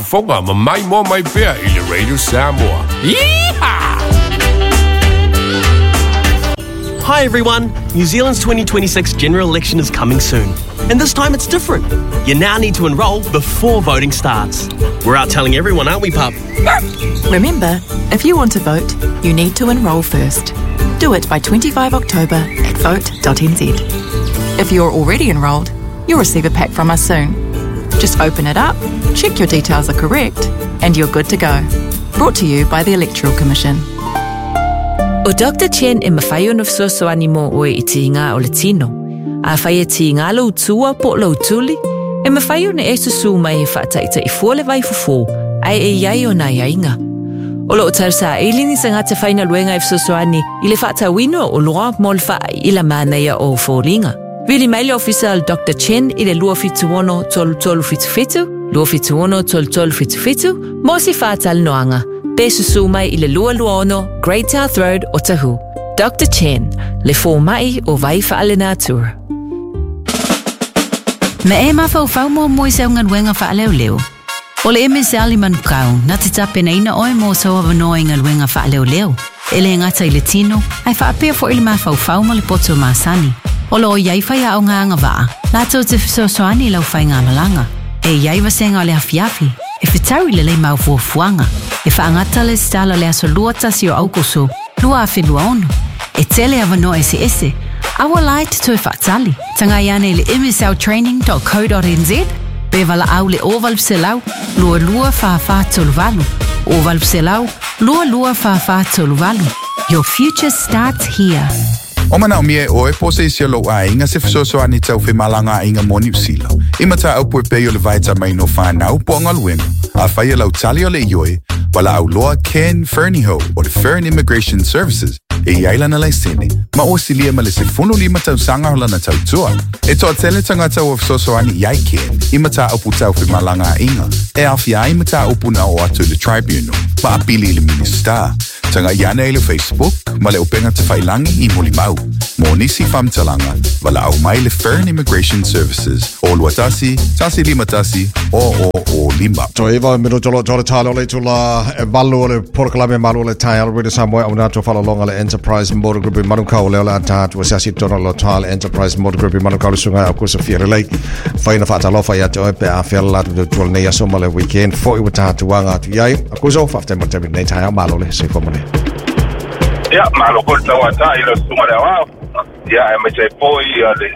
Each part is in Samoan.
faafogafoga ma maimoa mai pea i le Radio Samoa. Yeehaw! Hi everyone! New Zealand's 2026 general election is coming soon. And this time it's different. You now need to enrol before voting starts. We're out telling everyone, aren't we, pup? Remember, if you want to vote, you need to enrol first. Do it by 25 October at vote.nz. If you're already enrolled, you'll receive a pack from us soon. Just open it up, check your details are correct, and you're good to go. Brought to you by the Electoral Commission. ʻO Doctor Chen e mafai ona fesoasoani mo oe i tiga o le tino. Afai e tiga lou tua po o lou tuli, e mafai ona e susū mai e faataita'i fua le vaifofo, ae e i ai ona aiaiga. O lo o tausaili ni tagata faigaluega e fesoasoani i le faatauina o oloa mo le faaila manaia o foliga. Vili mai le ofisa o le Doctor Chen i le 276 3377, 276 3377 mo se faatalanoaga. Pe susū mai i le 226 Great South Road, Otahuhu. Doctor Chen, le fomai o vai faalenatura. Na e mafaufau muamua i sau galuega faaleoleo? O le MSL i Manukau, na te tapenaina oe mo sou avanoa i galuega faaleoleo, e le gata i le tino, ae faapea foi le mafaufau ma le poto masani. O lo o i ai faiaoga agavaa, latou te fesoasoani i lau faigamalaga. E i ai vasega o le afiafi, e fetaui lelei ma au fuafuaga, e faagata le resitala le aso 21 o Aukuso, 2026. E tele avanoa eseese, a ua la e te toe faatali. Tagai ane i le msltraining.co.nz pe valaau le 0800 22 44 38. 0800 22 44 38. Your future starts here. O manaomia e oe po o se isi o lou aiga se fesoasoani tau femalagaaiga mo Niu Sila, i mataupu e pei o le vaetamaina o fanau po o galuega. Afai o lau tali o le ioe, valaau loa Ken Fernihough o le Fern Immigration Services e i ai lana laisene ma ua silia ma le 15 tausaga o lana tautua. E toatele tagata ua fesoasoani i ai Ken i mataupu tau femalagaaiga e aofia ai mataupu na oo atu i le Tribunal ma apili i le Minisita. Tagai ane i le Facebook ma le upega tafailagi i Molimau. Mo nisi faamatalaga, valaau mai le Fern Immigration Services o 21 151 0005. Toe iva minuto lo tole talo le tula e valu o le polokalame malu o le taeao Radio Samoa au nato whalalonga le Enterprise Motor Group i Manukau leo le atatu o se asi tona lo tale Enterprise Motor Group i Manukau le sunga au kusa fia lelei whaina whaatalofa ia te oe pe a whiala latu te tuala nei aso ma le weekend foi ua tātu anga atu iai a kuso whafte mo te nei taeao malo le se fua mo le. Ia, malo foi le tauata i le susuga le aoao. Ia, aemaise ai foi ia le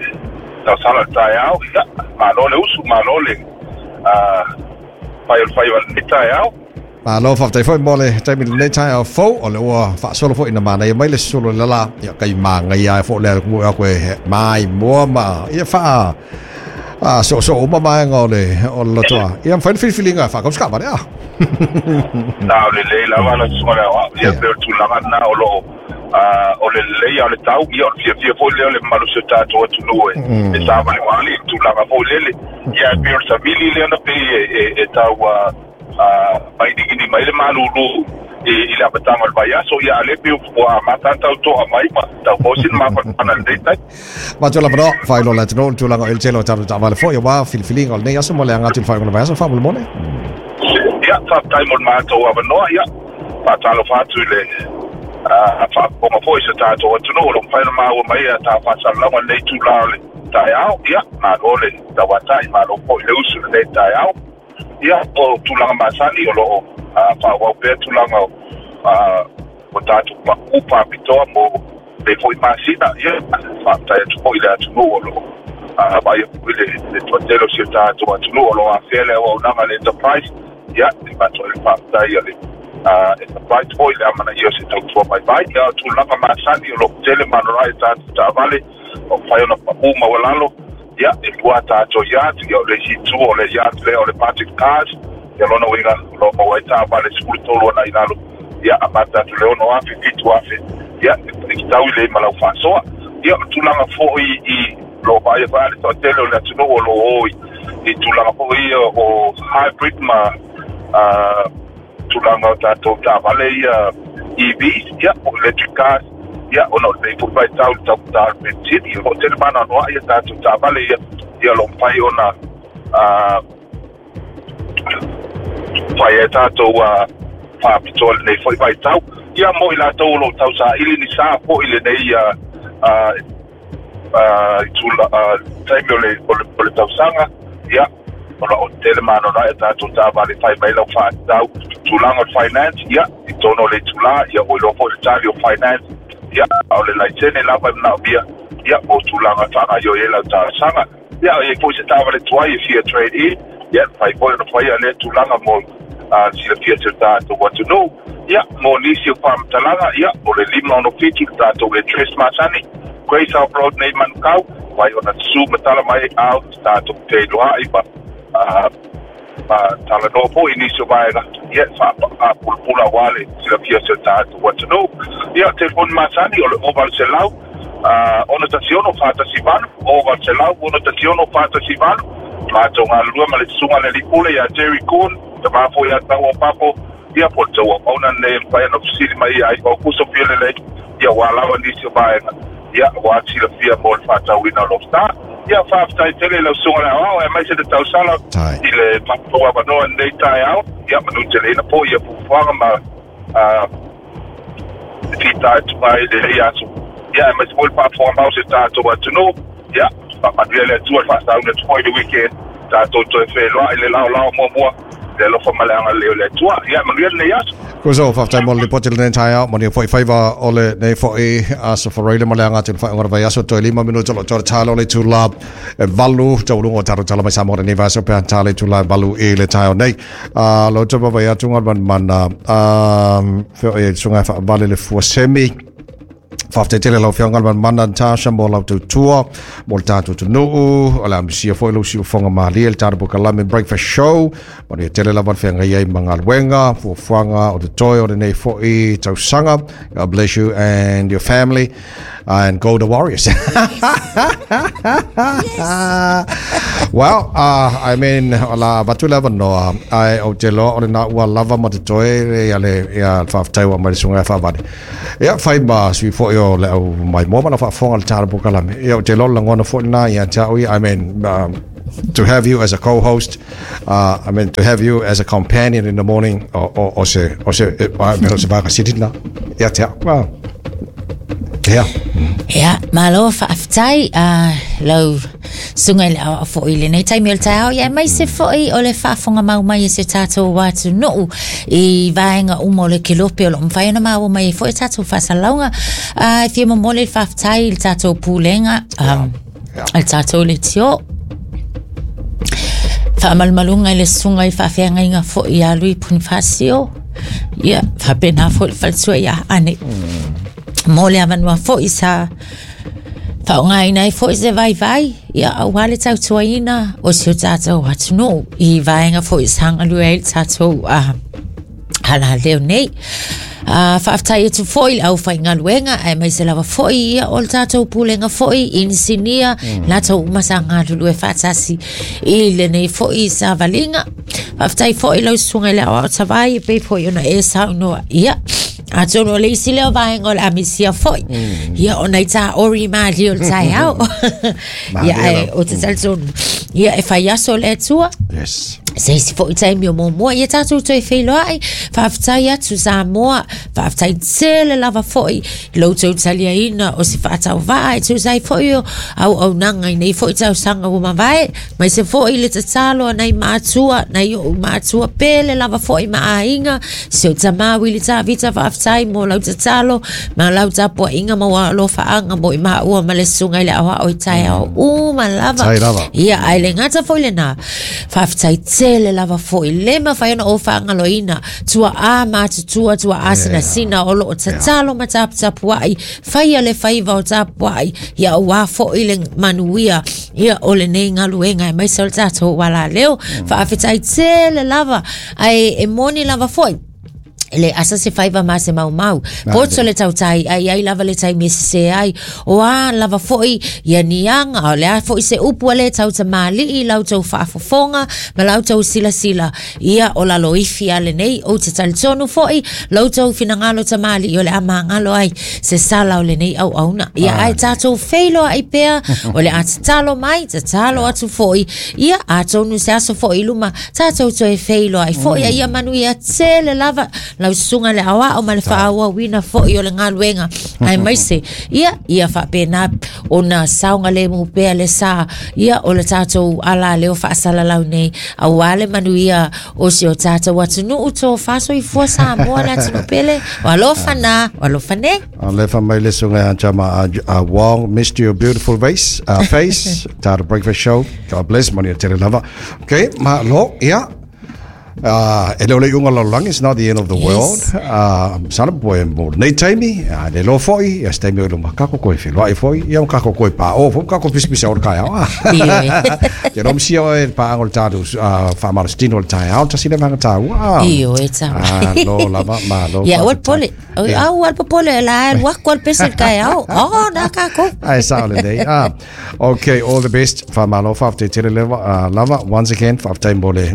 tausala le taeao. Ia, malo le usu, malo le fai o le faiva i lenei taeao. Malo faafetai foi mo le taimi lenei taeao fou o le ua faasolo foi ina manaia mai le solo le la ia kai māngaia ai foi le mo aku e mai moa ma ia faa a so so uma vaega o le o le lotoa. Ia mafai le filifiliga e faakausi kaavale a. Na o lelei lava lau susuga le aoao, ia pei o le tulaga lena o lo o o le lelei a o le tau, ia o le fiafia foi lea o le mamalu o si o tatou atunuu e e savalivali i le tulaga foi lele. Ia ae pei o le savili lea na pei e e e tau mainigini mai le malulu i i le amataga o le vaiaso, ia a o lea pei ua amata ona tau to'a mai ma tau maua sina mafanafana i lenei taimi. Matua lava noa, faailoa le atunuu le tulaga o ele tele o tatou taavale foi aua filifiliga o lenei aso mo le aga atu i le faaiuga o le vaiaso faamolemole. Ia, faafetai mo le matou avanoa, ia, faatalofa atu i le faafofoga foi i so tatou atunuu o lo o mafai ona maua mai a ta faasalalauga i lenei itula o le taeao. Ia, malo le tauatai, malo foi le usu i lenei taeao. Ia, o tulaga masani o lo o faaauau pea tulaga o o tatou paʻu faapitoa mo lenei foi masina. Ia, faafetai atu foi i le atunuu o lo o vaaia foi le toatele o si o tatou atunuu o lo o afea le auaunaga a le Enterprise. Ia, e avatu ai le faafetai a le Enterprise foi i le amanaia o se tautua vaivai. Ia, o tulaga masani o lo o tele ma anoanoai a tatou taavale o mafai ona paʻu maualalo. Ia, e lua a tatou yard, ia o le isi itu o le yard lea o le Budget Cars, ia lona uiga o lo o maua ai taavale 13 agai i lalo, ia amata atu i le 6,000, 7,000, ia e fetau lelei ma lau faasoa. Ia o le tulaga foi i lo o vaaia foi le toatele o le atunuu o lo o o i tulaga foi ia o hybrid ma tulaga o tatou taavale ia EVs, ia po o electric cars, ia ona o lenei foi vaitau i le taugata o le penisini, o lo o tele ma anoanoai a tatou taavale ia, ia o lo o mafai ona Fai ai tatou faapitoa i lenei foi vaitau. Ia mo i latou o lo o tausaili ni sa foi i lenei itula taimi o le o le tausaga, ia o lo o tele ma anoanoai a tatou taavale e fai mai lau faatatau tulaga o le finance, ia i totonu o le itula, ia ua iloa foi le tali o finance, ia a o le laisene lava e manaomia, ia mo tulaga e faagaoioi ai lau talosaga. Ia, e i ai foi se taavale tuai e fia trade in, ia, e mafai foi ona faia lea tulaga mo le silafia e si o tatou atunuu. Ia, mo nisi o faamatalaga, ia, o le 567 le tatou address masani, Grace Hope Road nei i Manukau, mafai ona susu ma tala mai au tatou feiloai ma ma talanoa foi i nisi o vaega, ia, e faapulapula aua le silafia o si o tatou atunuu. Ia, telefoni masani o le 0800 616 418, 0800 616 418. Matou galulue ma le Susuga i le Alii Pule ia Jerry Kuhn, tama foi ia Tau o Papo, ia po o le tou auauna lenei e mafai ona fesili mai ia Iva Aukuso Fialelei, ia aua lava nisi o vaega, ia aua le silafia mo le faatauina o lou sa. Ia, faafetai tele i lau Susuga i le Aoao, aemaise le tausala i le matou avanoa i lenei taeao, ia manuteleina foi ia fuafuaga ma fitaituga ai i lenei aso, ia aemaise foi le faafofoga mau o si o tatou atunuu. Ia, faamanuia le Atua i le faasauni atu foi i le weekend, tatou toe feiloai i le laolao muamua i le alofa ma le agalelei o le Atua. Ia, manuia lenei aso. Kuso, faafetai mo le lipoti i lenei taeao, manuia foi faiva o lenei foi aso Faraile ma le aga atu i le faaiuga o le vaiaso, toe 5 minuta o lo o toe talo o le itula e 8, taualuga o tatou tala mai Samoa i lenei vaiaso pe a tala i itula e 8 i le taeao nei. A lo te vaavaai atu ngā manumana, a feo e susuga e faavale le fua semi. Faafetai tele lau Afioga le Manumana Natasha mo lau tautua mo le tatou atunuu. O le a misia foi lou siufofoga malie i le tatou polokalame Breakfast Show. Manuia tele lava le feagai ai ma galuega, fuafuaga o totoe o lenei foi tausaga. God bless you and your family and go the Warriors. Well, I mean, o la avatu le avanoa, ae ou te iloa o lena ua lava ma totoe ia le ia le faafetai ua aumai le susuga ia Faavale. Ia, fai ma sui foi o le au maimoa ma lau faafofoga i le tala polokalame. Ia, ou te iloa o le lagona foi lena ia te au ia, I mean, to have you as a co-host, I mean, to have you as a companion in the morning, o, o, o se, o se, I mean, o se vaega sili lena ia te au. Well, yeah. Ia, malo faafetai lau susuga i le aoao foi i lenei taimi o le taeao, ia aemaise foi o le faafofoga mau mai e si o tatou atunuu i vaega uma o le kelope o lo o mafai ona maua mai ai foi a tatou faasalalauga. E fia momoli le faafetai i le tatou pulega, le tatou leitio. Faamalumaluga i le susuga i faafeagaiga foi ia Lui Ponifasio, ia faapena foi le faletua ia Ane. Mo le avanoa foi sa faaaogaina ai foi se vaivai, ia aua le tautuaina o si o tatou atunuu i vaega foi sa galue ai le tatou alaleo nei. Faafetai atu foi i le aufaigaluega aemaise lava foi ia o le tatou pulega foi, inisinia, latou uma sa galulue faatasi i lenei foi savaliga. Faafetai foi i lau susuga i le Aoao Tavai e pei foi ona e saunoa ia. Atonu o le isi lea o vaega o le a misia foi. Ia o nai tāori mālie o le taeao. Ia ae ou te talitonu. Ia e fai aso le Atua. Yes. Se isi foi taimi o muamua ia tatou toe feiloai. Faafetai atu Samoa, faafetai tele lava foi i lo outou taliaina o se faatauvaa e tusa ai foi o auaunaga i nei foi tausaga ua mavae, aemaise foi le tatalo a nai matua, nai o'u matua pele lava foi ma aiga, si ou tama Wili Tavita, faafetai mo lau tatalo ma lau tapuaiga ma ua alofaaga mo i maua ma le susuga i le aoao i taeao uma lava. Tai lava. Ia, ae le gata foi lena, faafetai tele lava foi, le mafai ona ou faagaloina, tuaa matutua, tuaa sinasina o loo tatalo ma taputapuai, faia le faiva o tapuai, ia aua foi le manuia, ia o lenei galuega aemaise o le tatou alaleo. Faafetai tele lava, ae e moni lava foi. Le asa se faiva ma se maumau. Poto le tautai ai ai lava le taimi e sesē ai. O a lava foʻi ia niaga, o le a foʻi se upu a lē tautamāliʻi i la outou faafofoga ma la outou silasila, ia o laloifi a lenei. Ou te talitonu foʻi la outou finagalo tamāliʻi o le a magalo ai se sala o lenei auauna. Ia ae tatou feiloaʻi pea, o le a tatalo mai, tatalo atu foʻi, ia atonu se aso foʻi i luma tatou toe feiloai foʻi. A ia manuia tele lava lau susuga le aoao ma le faaauauina foʻi o le galuega, aemaise ia ia faapena ona saogalemu pea le sa ia o le tatou alaleo faasalalau nei, auā le manuia o si o tatou atunuu tofa soifua Samoa le atunuu pele. O alofa na, o alofa nei. Alefa mai le susuga ia Jama Wong, missed your beautiful face, face. Tata Breakfast Show. God bless, manuia tele lava. Okay, ma lo, ia. E le o le iuga o le lalolagi, it's not the end of the world. Sana po e mo lenei taimi, le loa foi, ia se taimi o i luma, kako koe feloai foi, ia ma kako koe pā o foi, kako pisapisa o le taeao. Ke rō misia oe le pāaga o le tātou faamalositino o le taeao, tasi lea vaega taua. Ioe tama. Malo lava, malo. Ia, ua le pole. A ua le popole, la alu aku a le pese i le taeao. Oh, nā kākou. Ai sao lenei. Okay, all the best. Whamalo, whafte tele lewa, lava. Once again, whafte mo le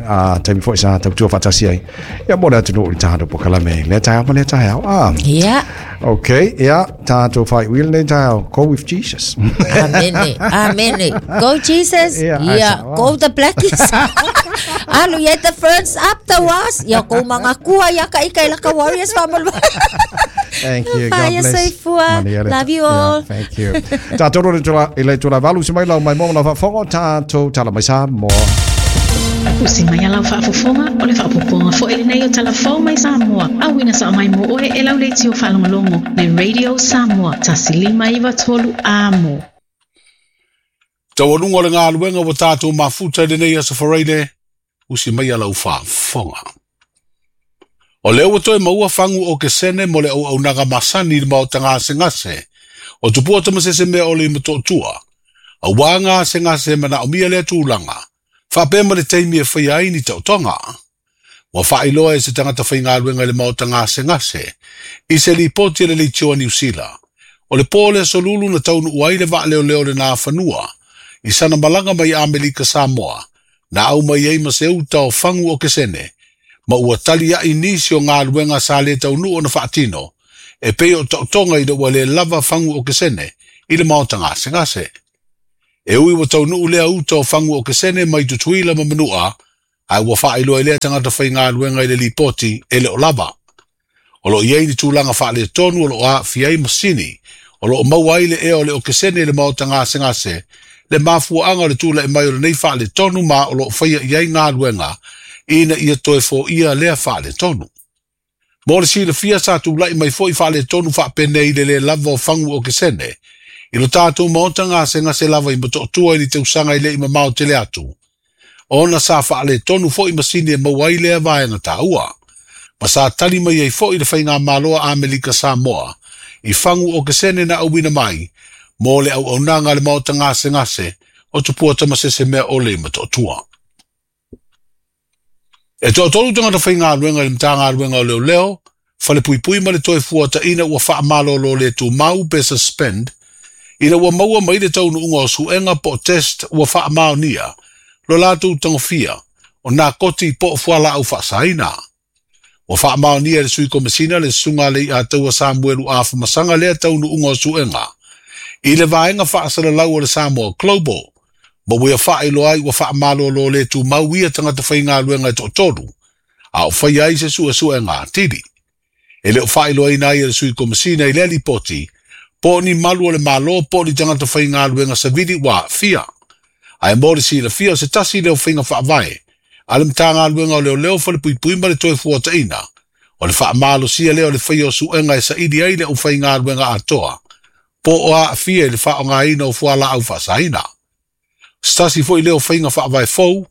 taimi foi sa tautua whaatasi ai. Ia mo le atunuu i le tātou pokalame. Lea taeao ma lea taeao. Yeah. Okay, ia, tātou whai uila nei taeao. Go with Jesus. Amene, amene. Go Jesus. Yeah, ai Ia, sao, ah. go the Blackies. Alu ia the Ferns up the was. Ia kou mangakua ia ka ika i laka Warriors whamalo. Thank you. God Whaia bless. soifua. Manuia le- Love you Yeah, all. thank you. Tātou rore tula, i le tula valu se mai lau mai mo na whafongo, tātou tala mai Samoa. Usi mai a lau faafofoga, o le faaopoopoga foi lenei o Tala Fou mai Samoa, auina sao mai mo oe e lau leitio faalogologo le Radio Samoa 1 5 9 3 Amo. Taualuga o le galuega ua tatou mafuta i lenei aso Faraile, usi mai a lau faafofoga. O lea ua toe maua fagu okesene mo le auaunaga masani i le maota gasegase o Tupua Tamasese Mea Ole i Motootua, auā gasegase e manaomia lea tulaga, faapea ma le taimi e faia ai ni taotoga. Ua faailoa e se tagata faigaluega i le maota gasegase i se lipoti a le leitio a Niu Sila. O le pō le aso Lulu na taunuu ai le vaaleoleo le Nafanua i sana malaga mai Amerika Samoa, na au mai ai ma se uta o fagu okesene, ma ua taliaʻi nisi o galuega sa lē taunuu ona faatino, e pei o taotoga ina ua lē lava fagu okesene i le maota gasegase. E ui ua taunuu lea uta o fagu okesene mai Tutuila ma Manua, ae ua faailoa i lea tagata faigaluega i le lipoti e le o lava. O loo i ai ni tulaga faaletonu o loo aafia ai masini, o loo maua ai le ea o le okesene i le maota gasegase, le mafuaaga o le tulaʻi mai o lenei faaletonu ma o loo faia i ai galuega ina ia toe foia lea faaletonu. Mo le silafia sa tulaʻi mai foʻi faaletonu faapenei i le lē lava o fagu okesene i lo tatou maota gasegase lava i Matootua i le tausaga i leʻi mamao tele atu, ona sa faaletonu foʻi masini e maua ai lea vaega taua. Ma sa tali mai ai foʻi le faigamalo a Amerika Samoa i fagu okesene na auina mai mo le auaunaga a le maota gasegase o Tupua Tamasese Mea Ole i Matootua. E toatolu tagata faigaluega i le Matagaluega o Leoleo, Falepuipui ma le Toe Fuataʻina ua faamalōlō lē tumau pe suspend, ina ua maua mai le taunuuga o suʻega po o test ua faamaonia lo latou tagofia o nakoti po o fualaau faasaina. Ua faamaonia e le sui komesina le susuga a Leiataua Samuelu Afamasaga lea taunuuga o suʻega i le vaega faasalalau o le Samoa Global, ma ua ia faailoa ai ua faamalōlō lē tumau ia tagata faigaluega e toatolu, a o faia ai se suesuega atili. E le o faailoaina ai e le sui komesina i lea lipoti po o ni malu o le Mālō po o ni tagata faigaluega savili ua aafia. Ae mo le silafia o se tasi lea o faiga faavae a le Matagaluega o Leoleo Falepuipui ma le Toe Fuataʻina, o le faamalosia lea o le faia o suʻega e saili ai le aufaigaluega atoa po o aafia i le faaaogaina o fualaau faasaina. Se tasi foʻi lea o faiga faavae fou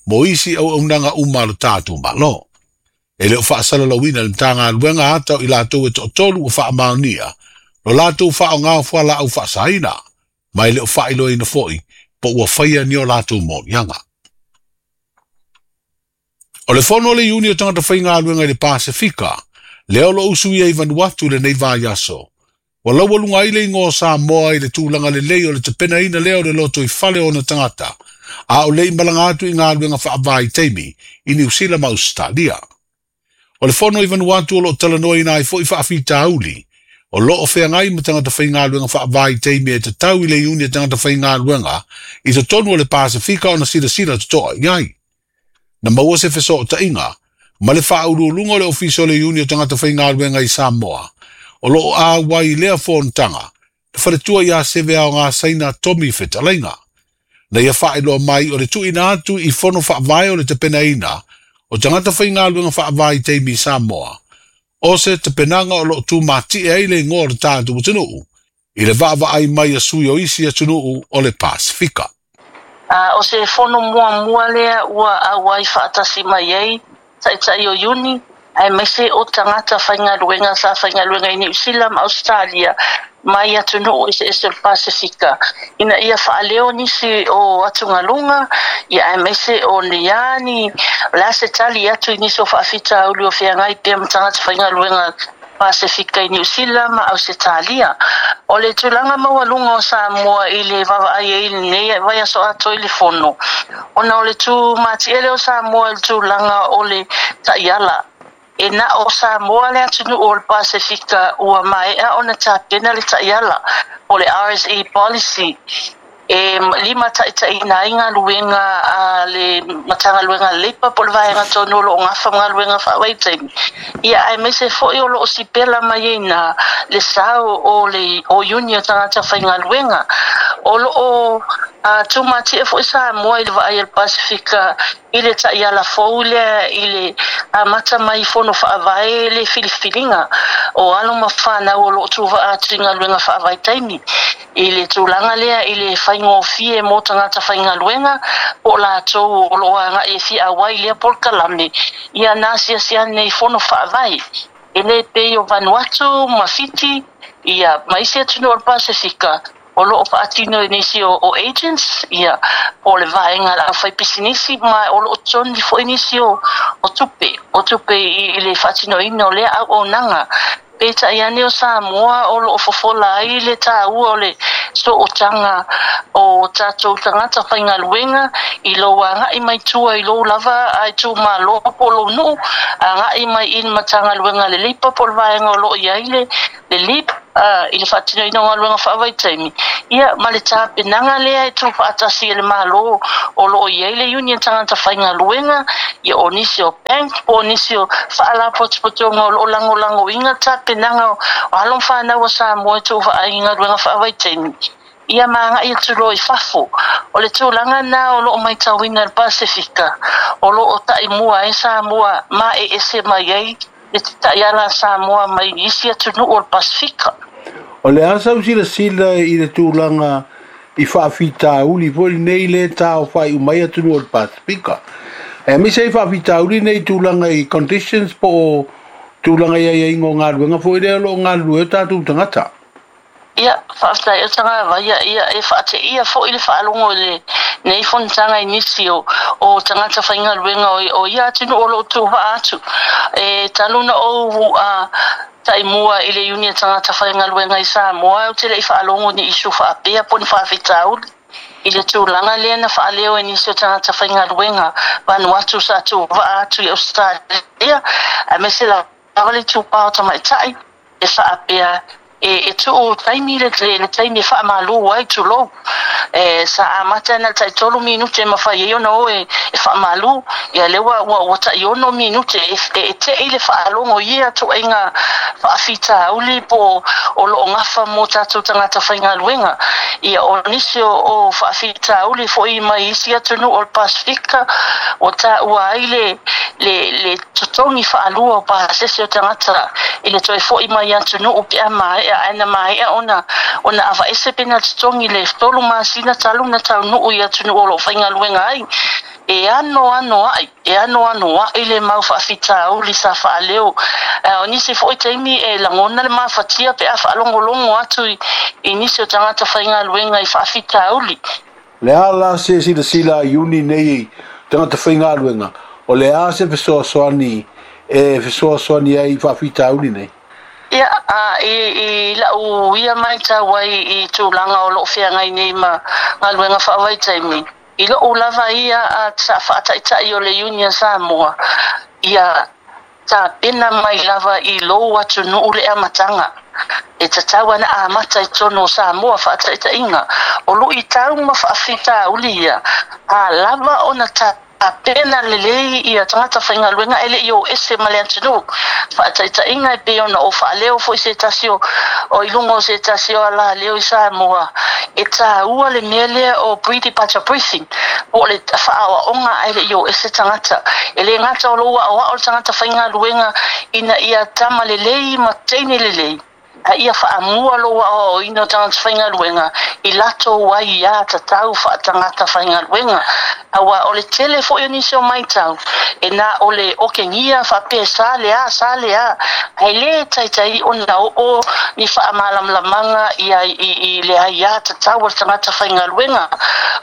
mo isi auaunaga uma a lo tatou Mālō. E le o faasalalauina e le Matagaluega ata o i latou e toatolu ua faamaonia lo latou faaaoga o fualaau faasaina, ma e le o faailoaina foʻi po ua faia ni o latou moliaga. O le fono a le Iuni o tagata faigaluega i le Pasefika, Lea o lo'o usuia i Vanuatu i lenei vaiaso. Ua laualuga ai le igoa o Samoa i le tulaga lelei o le tapenaina lea o le lotoifale o ona tagata, a o le i malaga atu i galuega faavaitaimi i Niu Sila ma Ausetalia. O le fono i Vanuatu o lo o talanoaina ai foi faafitauli o lo o feagai ma tagata faigaluega faavaitaimi e tatau i le iuni a tagata faigaluega i totonu o le Pasefika ona silasila totoa i ai. Na maua se fesootaiga ma le faauluuluga o le Ofisa o le Iuni o Tagata Faigaluega i Samoa, o lo o auai i lea fonotaga, le faletua ia Seve Aogasaina Tommy Fetalaiga. Na ia faailoa mai o le tuuina atu i fono faavae o le tapenaina o tagata faigaluega faavaitaimi i Samoa, o se tapenaga o lo o tumatie ai le igoa o le tatou atunuu i le vaavaai mai a sui o isi atunuu o le Pasefika. O se fono muamua lea ua auai faatasi mai ai taitai o Iuni, aemaise o tagata faigaluega sa faigaluega i Niu Sila ma Ausetalia mai atunuu eseese o le Pasefika, ina ia faaleo nisi o atugaluga, ia aemaise o ni a ni, o le a se tali atu i nisi o faafitauli o feagai pea ma tagata faigaluega Pasefika i Niu Sila ma Ausetalia. O le tulaga maualuga o Samoa i le vaavaai ai i lenei vaiaso atoa i le Fono, ona o le tūmatiele o Samoa i le tulaga o le taiala. E na o Samoa le atunuu o le Pasefika ua maea ona tapena le taiala o le RSE Policy e limataitaiina ai galuega a le Matagaluega a le Leipa po o le vaega tonu o lo o gafa ma galuega faavaitaimi, ia aemaise foi o lo o sipela mai ai ina le sao o le o iuni o tagata faigaluega. O lo o tumatie foi Samoa i le vaai a le Pasefika i le taiala fou lea i le amata mai fono faavae le filifiliga o alo ma fanau o lo o tuvaa atu i galuega faavaitaimi i le tulaga lea i le faigofie mo tagata faigaluega po o latou o lo o agai e fia auai i lea polokalame ia na asiasi ane i fono faavae e le pei o Vanuatu ma Fiti ia ma isi atunuu o le Pasefika o lo o faatino e nisi o agents ia po o le vaega a le aufaipisinisi ma o lo o totogi foi nisi o tupe o tupe i le faatinoina o lea auaunaga. Peitai ane o Samoa o lo o fofola ai le taua o le sootaga o tatou tagata faigaluega i lou agai mai tua i lou lava itumalo po o lou nuu, agai mai i le Matagaluega a le Leipa po o le vaega o lo o i ai le LEAP i le faatinoina o galuega faavaitaimi, ia ma le tapenaga lea e tuufaatasi e le Malo o lo o i ai le Union Tagata Faigaluega, ia o nisi o bank po o nisi o faalapotopotoga o lo o lagolagoina tapenaga o alo ma fanau a Samoa e tuuvaai i galuega faavaitaimi, ia ma agai atu loa i fafo. O le tulaga lena o lo o matauina e le Pasefika, o lo o taimua ai Samoa ma e ese mai ai le taiala a Samoa mai isi atunuu o le Pasefika. O le a sau silasila i le tulaga i faafitauli foi lenei lea e taofai uma ai atunuu o le Pasefika. Aemaise ai faafitauli nei i tulaga i conditions po o tulaga i aiaiga o galuega foi lea o lo o galulue ai o tatou tagata. Ia, faafetai o Tagavaia, ia, e faateia foi le faalogo i lenei fonotaga i nisi o, o tagata faigaluega o, o ia atunuu o lo o tuuvaa atu. E talu ona ou a, taimua i le Iuni a Tagata Faigaluega i Samoa, ou te le i faalogo ni issue faapea po o ni faafitauli i le tulaga lea na faaleo e nisi o tagata faigaluega Vanuatu sa tuuvaa atu i Ausetalia, aemaise lava le itupa o tamaitai e faapea e tuu taimi le taimi e faamalu ai, tulou. E sa amata na o le tai 3 minute e mafai ai ona o e faamalu, ia lea ua tai 6 minute e tei le faalogo i ia ituaiga faafitauli po o lo o gafa mo tatou tagata faigaluega. Ia o nisi o faafitauli foi mai isi atunuu o le Pasefika ua taua ai le totogi faalua o pasese o tagata i le toe foi mai atunuu pe a maea, ae na maea ona aveese pe na totogi le 3 masina talu na taunuu i atunuu o lo o faigaluega ai. E anoanoai, e anoanoai le mau faafitauli sa faaleo. O nisi foi taimi e lagona le mafatia pe a faalogologo atu i nisi o tagata faigaluega i faafitauli. Le a la se silasila a Iuni nei tagata faigaluega, o le a se fesoasoani e fesoasoani ai i faafitauli nei? Ia, a, i, i la'u ia maitau ai i tulaga o lo'o feagai nei ma galuega faavaitaimi, i lo'u lava ia a sa faataita'i o le Iuni a Samoa, ia tapena mai lava i lou atunuu le amataga. E tatau ana amata i totonu o Samoa faataitaiga, o luitau ma faafitauli ia, a lava ona tapena lelei ia tagata faigaluega e le i o ese ma le atunuu. Faataitaiga e pei ona ou faaleo foi se tasi o, o i luga o se tasi o alaleo i Samoa, e taua le mea lea o pre-departure briefing, po o le faaoaoga ae le i o ese tagata. E le gata o lou aoao le tagata faigaluega ina ia tama lelei ma teine lelei, a ia faamua lou aoaoina o tagata faigaluega i latou aiā tatau faatagata faigaluega. Aua o le tele foi o nisi o maitau, e na o le okegia faapea sa le a, sa le a, ae le taitai ona oo ni faamalamalamaga ia i, i le aiā tatau a le tagata faigaluega.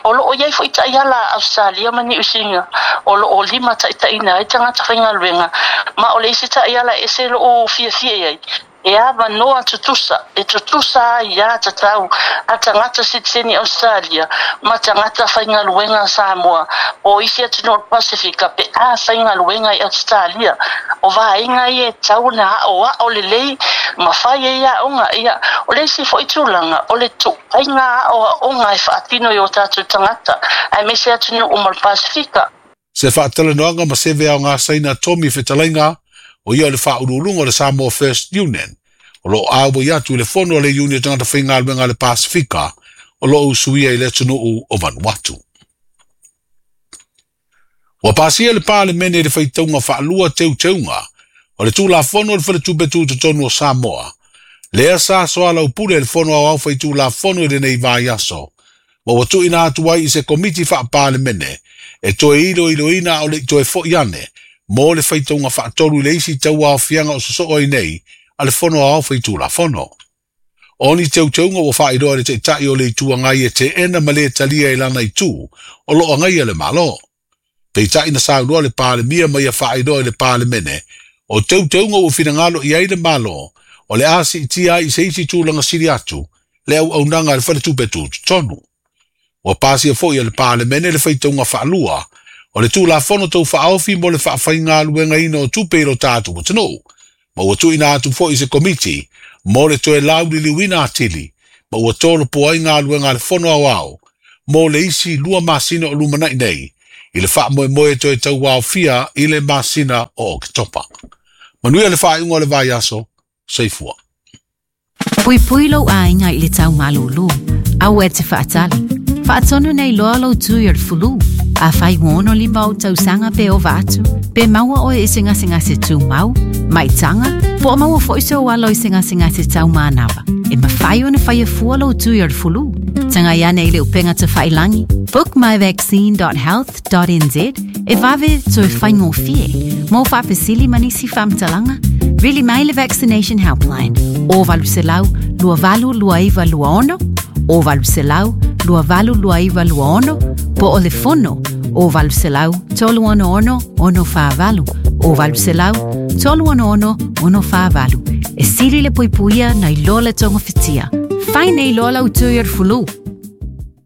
O loo i ai foi taiala a Ausetalia ma Niu Sila o loo limataitaiina ai tagata faigaluega, ma o le isi taiala e ese lou fiafia i ai, e avanoa tutusa, e tutusa ai iā tatau a tagata sitiseni Ausetalia ma tagata faigaluega Samoa o isi atunuu o le Pasefika pe a faigaluega i Ausetalia. O vaega ia e tatau ona aoao lelei ma fai ai aoga. Ia, o le isi foi tulaga, o le tuaiga aoaoga e faatino i o tatou tagata, aemaise atunuu uma o le Pasefika. Se faatalanoaga ma seve aoga Saina Tommy Fetalaiga, o ia o le faauluuluga o le Samoa First Union, o lo o auai atu i le fono a le Iuni o Tagata Faigaluega a le Pasefika o lo o usuia i le atunuu o Vanuatu. Ua pasia le Palemene i le faitauga faalua teuteuga o le Tulafono o le Faletupe Tutotonu o Samoa, lea sa soalaupule e le Fono Aoao Faitulafono i lenei vaiaso, ma ua tuuina atu ai i se Komiti Faa-Palemene e toe iloiloina a o le i toe foi ane mo le faitauga faatolu i le isi tauaofiaga o sosoo ai nei a le Fono Aoao Faitulafono. O ni teuteuga ua faailoa e le Taitai o le Itu Agai e teena ma le talia i lana itu o lo o agaia le Malo. Peitai na saunoa le Palemia ma ia faailoa i le Palemene, o teuteuga ua finagalo i ai le Malo o le a siitia ai i se isi tulaga sili atu le auaunaga a le Faletupe Tutotonu. Ua pasia foi e le Palemene le faitauga faalua o le Tulafono Tau Faaofi mo le Faafaigaluegaina o Tupe i lo tatou atunuu, ma ua tuuina atu foi i se Komiti mo le toe lauliliuina atili, ma ua tolopo ai galuega a le Fono Aoao mo le isi 2 masina o lumanai nei, i le faamoemoe e toe tauaofia i le masina o Oketopa. Manuia le faaiuga o le vaiaso, soifua. Puipui lou aiga i le tau malūlū. Aua e te faatali. Faatonu nei loa lou tui o le fulu. Afai ua 65 ou tausaga pe ova atu, pe maua oe i se gasegase tumau, maitaga, po o maua foi sou alo i se gasegase tau manava, e mafai ona faia fua lou tui o le fulu. Tagai ane i le upega tafailangi bookmyvaccine.health.nz e vave toe faigofie. Mo faafesili ma nisi faamatalaga, vili mai le Vaccination Helpline o 800 282926 o 800 282926 po o le fono o 800 366 648 o 800 366 648. E sili le puipuia nai lo le togafitia. Fai nei loa lau tui o le fulu.